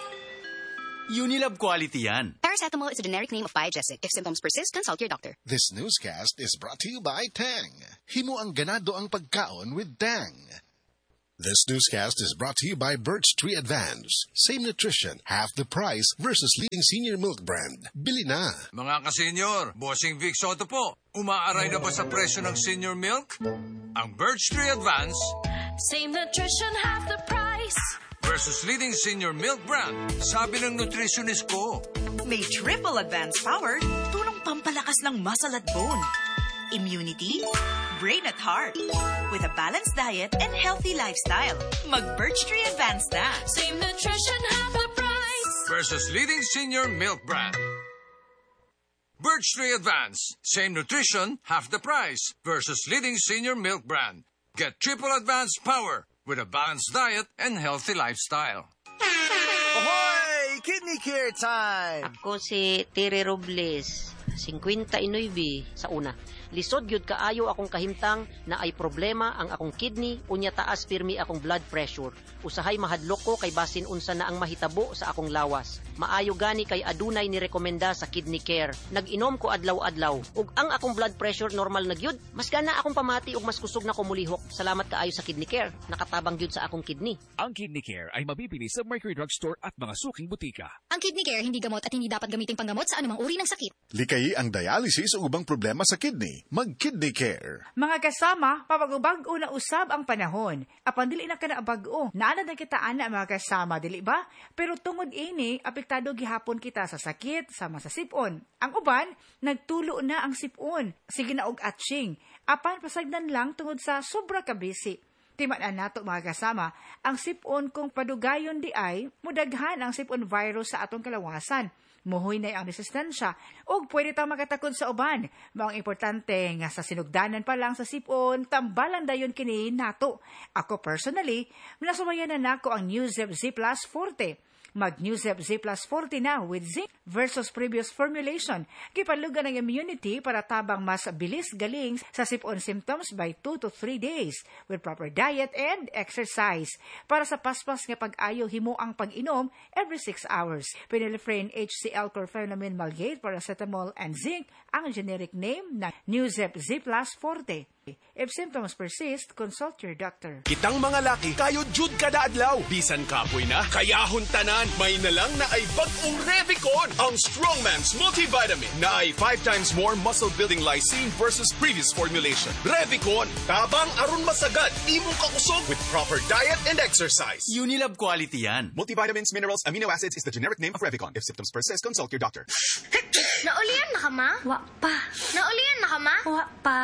Unilab quality yan. Paracetamol is a generic name of Biogesic. If symptoms persist, consult your doctor. This newscast is brought to you by Tang. Himo ang ganado ang pagkaon with Tang. This newscast is brought to you by Birch Tree Advance. Same nutrition, half the price versus leading senior milk brand. Bili na. Mga kasenyor, Bossing Vic Sotto po. Umaaray na ba sa presyo ng senior milk? Ang Birch Tree Advance Same nutrition, half the price. versus leading senior milk brand. Sabi ng nutritionist ko. May triple advanced power, tulong pampalakas ng muscle at bone. Immunity, brain at heart. With a balanced diet and healthy lifestyle. Mag Birch Tree Advance na. Same nutrition, half the price. Versus leading senior milk brand. Birch Tree Advance. Same nutrition, half the price. Versus leading senior milk brand. Get triple advanced power with a balanced diet and healthy lifestyle. Ahoy! Kidney care time! Ako si Tere Robles, singkwenta y nuebe sa una. Lisod gyud kaayo akong kahimtang na ay problema ang akong kidney, unya taas pirmi akong blood pressure. Usahay mahadlok ko kay basin unsa na ang mahitabo sa akong lawas. Maayo gani kay adunay ni rekomenda sa Kidney Care. Nag-inom ko adlaw-adlaw ug ang akong blood pressure normal na gyud. Mas gana akong pamati ug mas kusog na ko mulihok. Salamat kaayo sa Kidney Care. Nakatabang gyud sa akong kidney. Ang Kidney Care ay mabibili sa Mercury Drug Store at mga suking butika. Ang Kidney Care hindi gamot at hindi dapat gamiting panggamot sa anumang uri ng sakit. Likayi ang dialysis o ubang problema sa kidney. Mag-Kidney Care. Mga kasama, pabag-bag-o na usab ang panahon. Apan dili na kana bag-o. Naana na kita ana, mga kasama, dili ba? Pero tungod ini, apektado gihapon kita sa sakit, sama sa sipon. Ang uban, nagtulo na ang sipon. Sige na og atching. Apan pasagdan lang tungod sa sobra ka busy. Timan-an nato, mga kasama, ang sipon kung padugayon di ay, mudaghan ang sipon virus sa atong kalawasan. Muhuy na ang resistensya ug pwede tang makatakod sa uban. Mao ang importante nga sa sinugdanan pa lang sa sipon, tambalan dayon kini nato. Ako personally, nasuwayan na nako ang Nuzep Z Plus Forte. Mag Nuzep Z Plus forty na with zinc versus previous formulation. Gipalugan ang immunity para tabang mas bilis galing sa sipon symptoms by two to three days with proper diet and exercise. Para sa paspas nga pag-ayo, himo ang pag-inom every six hours. Phenylephrine H C L, chlorpheniramine maleate, paracetamol and zinc ang generic name na Nuzep Z Plus Forte. If symptoms persist, consult your doctor. Kitang mga laki, kayo jud kada adlaw. Bisan kapoy na, kayahon tanan. May na lang na ay bag-ong Revicon. Ang Strongman's Multivitamin na ay five times more muscle-building lysine versus previous formulation. Revicon, tabang aron masagad imong kakusog with proper diet and exercise. Unilab quality yan. Multivitamins, minerals, amino acids is the generic name of Revicon. If symptoms persist, consult your doctor. Naulian na ka, ma? Wa pa. Naulian na ka, ma? Wa pa.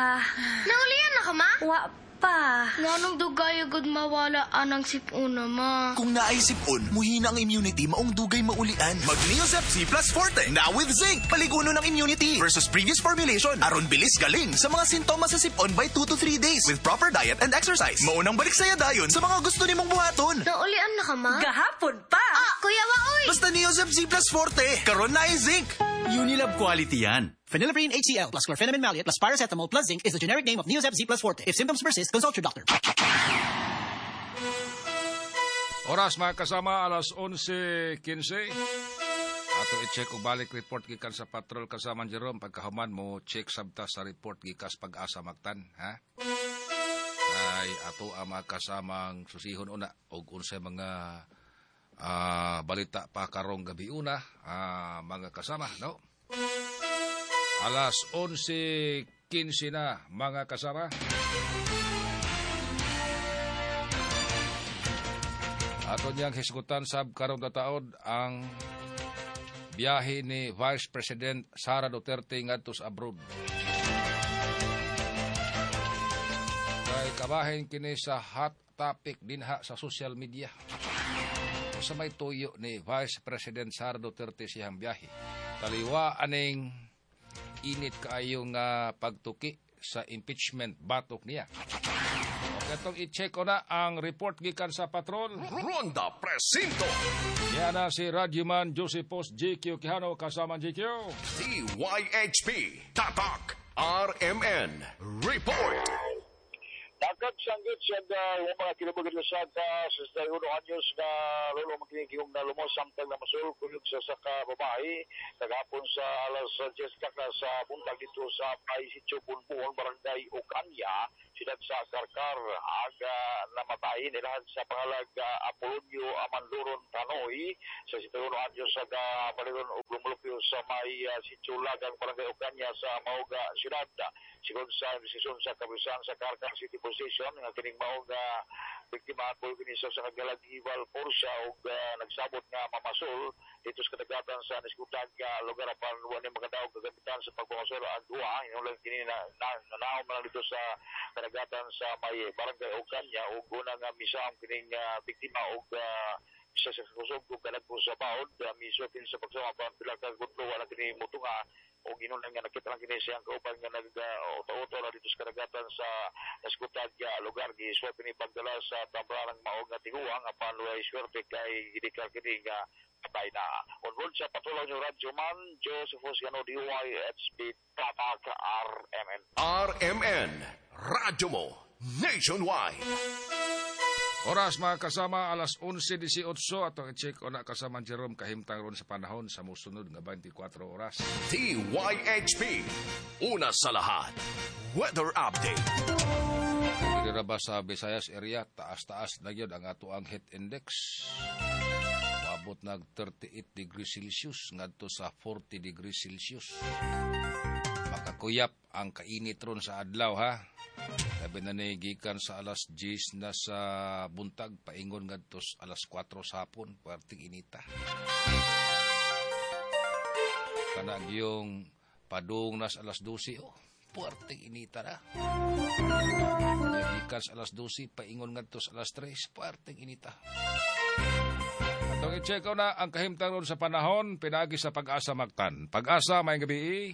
Naulian na ka, ma? Wa pa. Nganong dugay gud mawala anang sipuna, ma? Kung naay sipon, muhina ang immunity, maong dugay maulian. Mag Neozep Z Plus Forte, now with zinc. Paliguno ng immunity versus previous formulation. Aron bilis galing sa mga sintomas sa sipon by two to three days with proper diet and exercise. Maunang balik saya dayon sa mga gusto nimong buhaton. Naulian na ka, ma? Gahapon pa. Ah, kuya wa oy. Basta Neozep Z Plus Forte, karon naay zinc. Unilab quality yan. Phenylephrine H C L plus chlorpheniramine maleate plus paracetamol plus zinc is the generic name of Neozep Z Plus Forte. If symptoms persist, consult your doctor. Oras, mga kasama, alas onse kintse. Ato i-check og balik report gikan sa Patrol, kasama Jerome. Pagkahuman mo check sabta sa report gikas Pag-asa Mactan, ha? Ay ato ang mga kasamang susihon una og unsay mga ah, balita pa karong gabi una, ah, mga kasama, no? Alas onse kintse na, mga kasama. Ato niyang hisgutan sab karong taod ang biyahe ni Vice President Sara Duterte ngadto sa abroad. Kay kabahin kini sa hot topic dinha sa social media. Sa may tuyo ni Vice President Sara Duterte siyang biyahe. Taliwa aning init kaayo nga pagtuki sa impeachment batok niya. Katong i-check ko na ang report gikan sa Patrol. Ronda Presinto. Yan na si Radyoman Joseph Post J Q Quijano, kasama J Q. D Y H P Tatak R M N Report. Nagkagsanggit siya uh, yung mga kinabugan sa sa sesenta y uno anyos na lolo makinikiyong na lumos samtang na masul kuyog sa saka babae kagahapon sa alas diyes kaka sa buntag dito sa Pai Sitio Bunbuon, Barangay Ocaña. siyudad sa Carcar. Aga namatay nilahan sa pangalag uh, Apolonio Amanduron Tanoy sa sitwasyon anyos sa baliron og lumulupyo sa may uh, Sitio Lagang, Barangay Ocaña sa Mauga siyudad. Sigon sa investigasyon sa kapulisan sa Carcar City Police Station nga kining maong uh, biktima po kini sa kagalag Ival Porsche og uh, nagsabot nga mamasol dito sa kadagatan sa niskutan nga lugar, apan wa ni makadaog kagamitan sa pagpamasol ang duha. Inulan kini na, na, nanaom na lang dito sa kadagatan sa may Barangay Ocaña ug una nga misaam kining uh, biktima og uh, isa sa kusog ug kadagko sa baod uh, misutin sa pagsama pa pila ka gudlo, wala kini mutunga o ginunan nga nakita lang kini siyang kauban nga nag uh, auto-auto na dito sa kadagatan sa naskutan nga lugar. Gisuwat kini pagdala sa Tambranang maog nga tiguang, apan way swerte kay gidikar kini nga patay na. On board sa patuloy niyo Radyo Man, Joseph Gano, D Y H P Tatak R M N. R M N, Radyo Mo, Nationwide. Oras, mga kasama, alas onse labing walo, atong i-check ona, kasama Jerome, kahimtang ron sa panahon sa musunod nga twenty-four oras. D Y H P, una sa lahat. Weather Update. Diri ba sa Visayas area, taas-taas na gyud ang ato ang heat index. Moabot nag thirty-eight degrees Celsius ngadto sa forty degrees Celsius. Makakuyap ang kainit ron sa adlaw, ha. Labi na ni gikan sa alas diyes na sa buntag paingon ngadto sa alas kwatro sa hapon, puwerteng inita. Kana yung padung nas alas dose, oh, puwerteng inita na. Gikan sa alas dose paingon ngadto sa alas tres, puwerteng inita. Atong i-check na ang kahimtang ron sa panahon pinagi sa Pag-asa Mactan. Pag-asa, maayong gabii.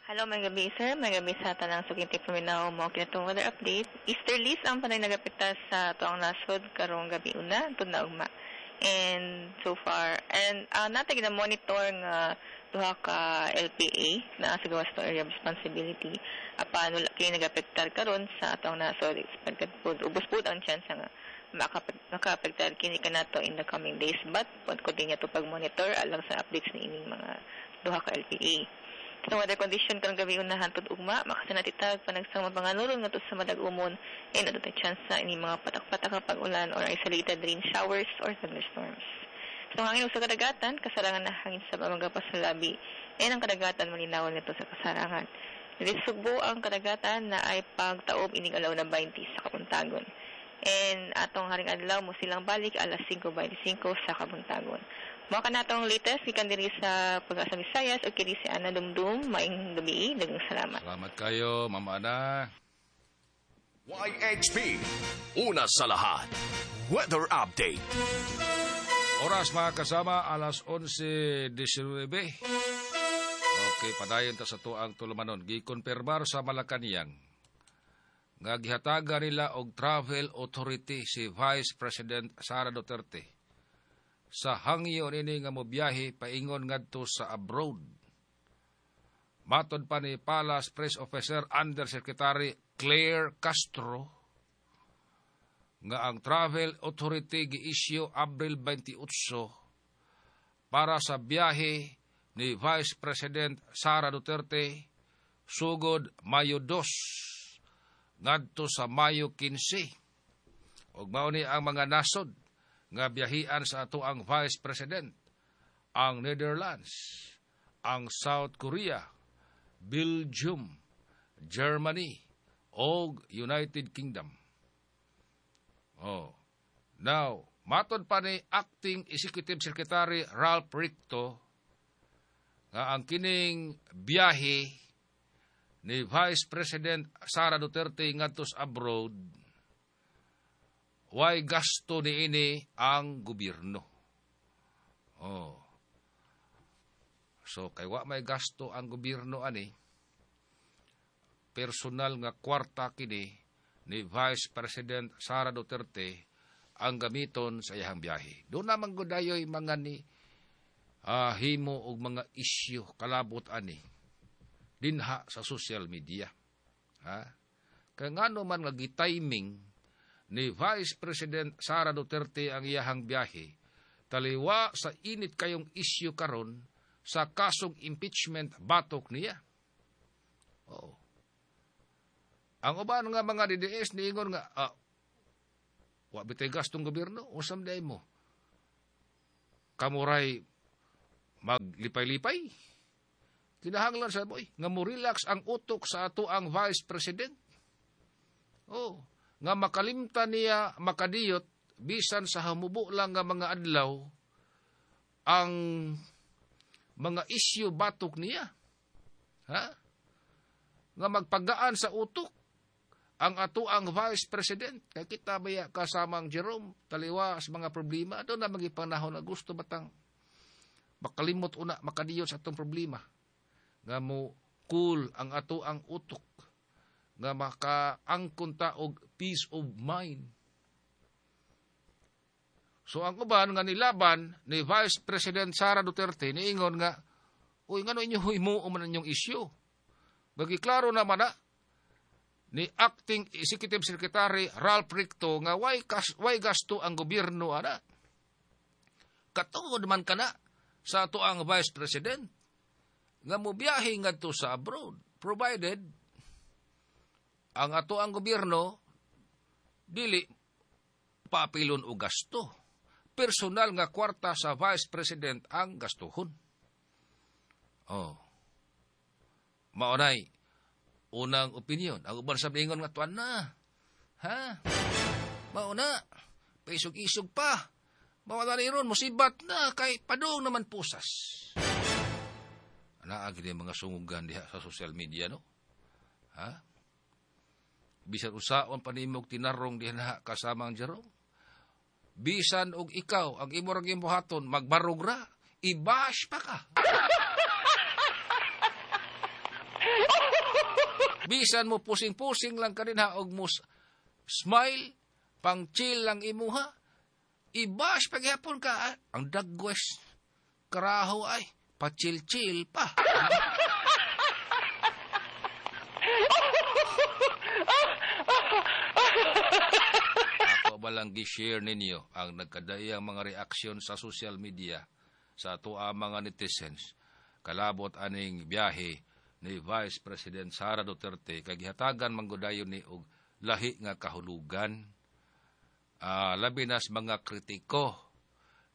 Hello, maayong gabii, sir. Maayong gabii sa tanang suking paminaw mo kinatong weather update. Easterlies ang panay nagapita sa tuang nasod karong gabi una tud na ugma. And so far, and uh, natin gina-monitor nga duha ka L P A na sa gawas to area of responsibility. Apan wala kay nagapektar karon sa atong nasod. Expected pod ubos pod ang chance nga makaapektar kini kanato in the coming days, but pod ko din to pag-monitor alang sa updates ni ining mga duha ka L P A. Sa weather condition karong gabi una hantod ugma, makasanati tag panagsang mapanganuron ngadto sa madag-umon and adto chance sa ini mga patak-patak nga pag-ulan or isolated rain showers or thunderstorms. So hangin sa kadagatan, kasarangan na hangin sa pamagapas sa labi and ang kadagatan malinawon nito sa kasarangan. Dili Sugbo ang kadagatan na ay pagtaob inig alaw na twenty sa kabuntagon. And atong haring adlaw mo silang balik alas singko twenty-five sa kabuntagon. Mao kanatong latest gikan diri sa Pag-asa Visayas ug kini si Ana Dumdum. Maayong gabii, daghang salamat. Salamat kayo, Mama Ana. Y H P, una sa lahat. Weather Update. Oras, mga kasama, alas onse nineteen. Okay, padayon ta sa tuang tulumanon. Gikonfirmar sa Malacanang nga gihatagan nila og travel authority si Vice President Sara Duterte sa hangyo nini nga mobiyahe paingon ngadto sa abroad. Matod pa ni Palace Press Officer Undersecretary Claire Castro nga ang travel authority gi-issue Abril twenty-eight para sa biyahe ni Vice President Sara Duterte sugod Mayo two ngadto sa Mayo fifteen. Ug mao ni ang mga nasod nga biyahian sa ato ang Vice President: ang Netherlands, ang South Korea, Belgium, Germany, og United Kingdom. Oh. Now, matod pa ni Acting Executive Secretary Ralph Recto nga ang kining biyahe ni Vice President Sara Duterte ngadto sa abroad, way gasto niini ang gobyerno. Oh. So kay wa may gasto ang gobyerno ani, personal nga kwarta kini ni Vice President Sara Duterte ang gamiton sa iyang biyahe. Doon naman gudayoy mga ni uh, himo og mga isyu kalabot ani dinha sa social media. Ha? Kaya ngano man nga gitiming ni Vice President Sara Duterte ang iyahang biyahe taliwa sa init kayong isyu karon sa kasong impeachment batok niya. Oo. Ang uban nga mga D D S niingon nga ah, wa bitay gastong gobyerno, usam day mo. Kamuray maglipay-lipay. Kinahanglan sa boy nga mo relax ang utok sa ato ang Vice President. Oh, nga makalimtan niya makadiyot bisan sa hamubo lang nga mga adlaw ang mga isyu batok niya. Ha? Nga magpagaan sa utok ang ato ang Vice President. Kay kita baya kasamang Jerome, taliwa sa mga problema. Doon na magipanahon na gusto batang makalimot una, makadiyot sa atong problema. Nga mo cool ang ato ang utok. Nga makaangkon ta og peace of mind. So ang uban nga nilaban ni Vice President Sara Duterte niingon nga, uy, ngano inyo himuo man inyong issue? Bagi klaro naman na ni Acting Executive Secretary Ralph Recto nga way, kas, way gasto ang gobyerno ana. Katungod man kana sa ato ang Vice President nga mobiyahe ngadto sa abroad, provided ang ato ang gobyerno dili paapilon og gasto. Personal nga kwarta sa Vice President ang gastuhon. Oh. Maunay unang opinion. Ang uban sa ingon nga tuan na. Ha? Mauna. Paisog-isog pa. Mawala ni ron, musibat na kay padung naman pusas. Anaag din mga sungugan diha sa social media, no? Ha? Bisan usaon panimog tinarong diha na kasamang Jerome. Bisan og ikaw ang imo ra gimbuhaton magbarog ra, i-bash pa ka. Bisan mo pusing-pusing lang kaninha og mo smile, pang chill lang imuha, i-bash paghapon ka. Ah, ang dagwes karaho ay pa-chill-chill pa. Ako ba lang gi-share ninyo ang nagkadayang mga reaksyon sa social media sa ato ang mga netizens kalabot aning biyahe ni Vice President Sara Duterte kay gihatagan manggudayon ni og lahi nga kahulugan. Uh, labi na sa mga kritiko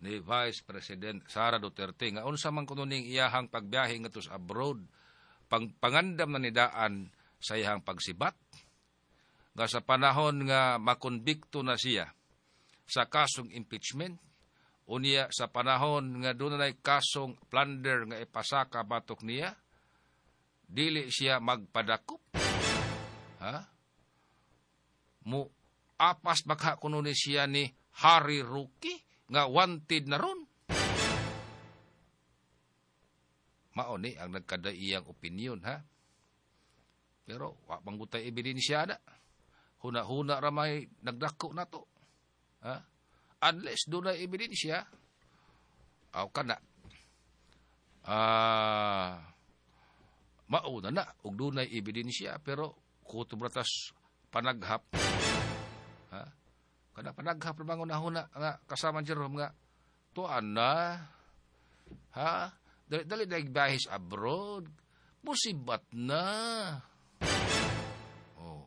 ni Vice President Sara Duterte nga unsa man kuno ning iyahang pagbiyahe ngadto sa abroad, pang pangandam na nidaan sa iyahang pagsibat nga sa panahon nga makonbikto na siya sa kasong impeachment, unya sa panahon nga dunay kasong plunder nga ipasaka batok niya, dili siya magpadakop. Ha? Mu apas baka kuno ni siya ni Harry Roque nga wanted na ron. Mao ni ang nagkadaiyang opinion, ha? Pero wa manggutay ebidensya na. Huna-huna ra may nagdako na to. Ha? Unless dunay ebidensya, aw kana. Ah, mauna na og dunay ebidensya pero kutob ra tas panaghap. Ha? Kada panaghap ra bangon huna nga kasama Jerome nga tuan na. Ha? Dali dali daig biyahe abroad. Musibat na. Oh.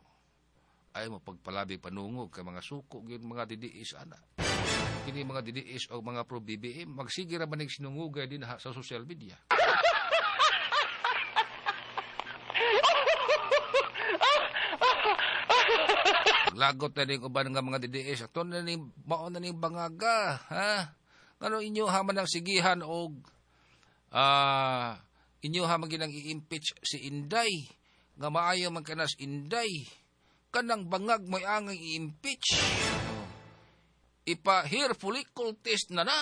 Ay mo pagpalabi panungog kay mga suko gyud mga D D S ana. Kini mga D D S o mga pro B B M magsige ra manig sinungugay dinha sa social media. Lagot na ning uban nga mga D D S ato na ning mao na ning bangaga, ha? Ngano inyo ha man ang sigihan og ah uh, inyo ha man ginang i-impeach si Inday nga maayo man kanas Inday kanang bangag may angay i-impeach. Oh. Ipa hair follicle test na na.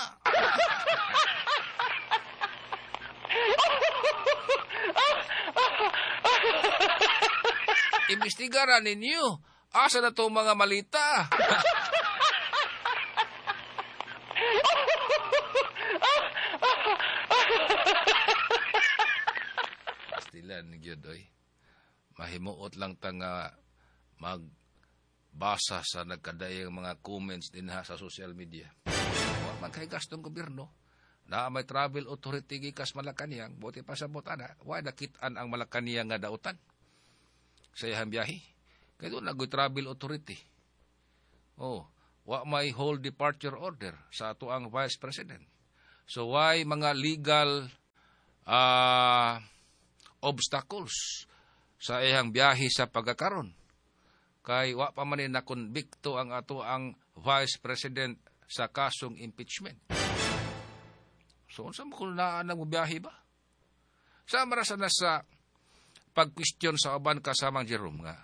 Imbestigaran ninyo. Asa na itong mga malita? Pastilan, gyud, oy. Mahimuot lang ta nga magbasa sa nagkadayang mga comments din ha sa social media. Wa man kay gastong gobyerno. Na may travel authority gikas Malacanang, buti pa sa ana, wa nakit-an ang Malacanang nga dautan sa iyang biyahe. Kay duna na travel authority. Oh, wa may hold departure order sa ato ang Vice President. So why mga legal uh, obstacles sa iyang biyahe sa pagkakaron? Kay wa pa man ni nakonbikto ang ato ang Vice President sa kasong impeachment. So unsa mo kung naa nang biyahe ba? Sa marasa na sa pag-question sa uban, kasamang Jerome, nga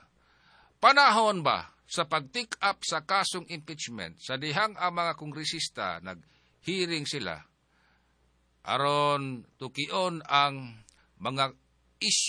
panahon ba sa pag-take up sa kasong impeachment sa dihang ang mga kongresista nag-hearing sila aron tukion ang mga issue?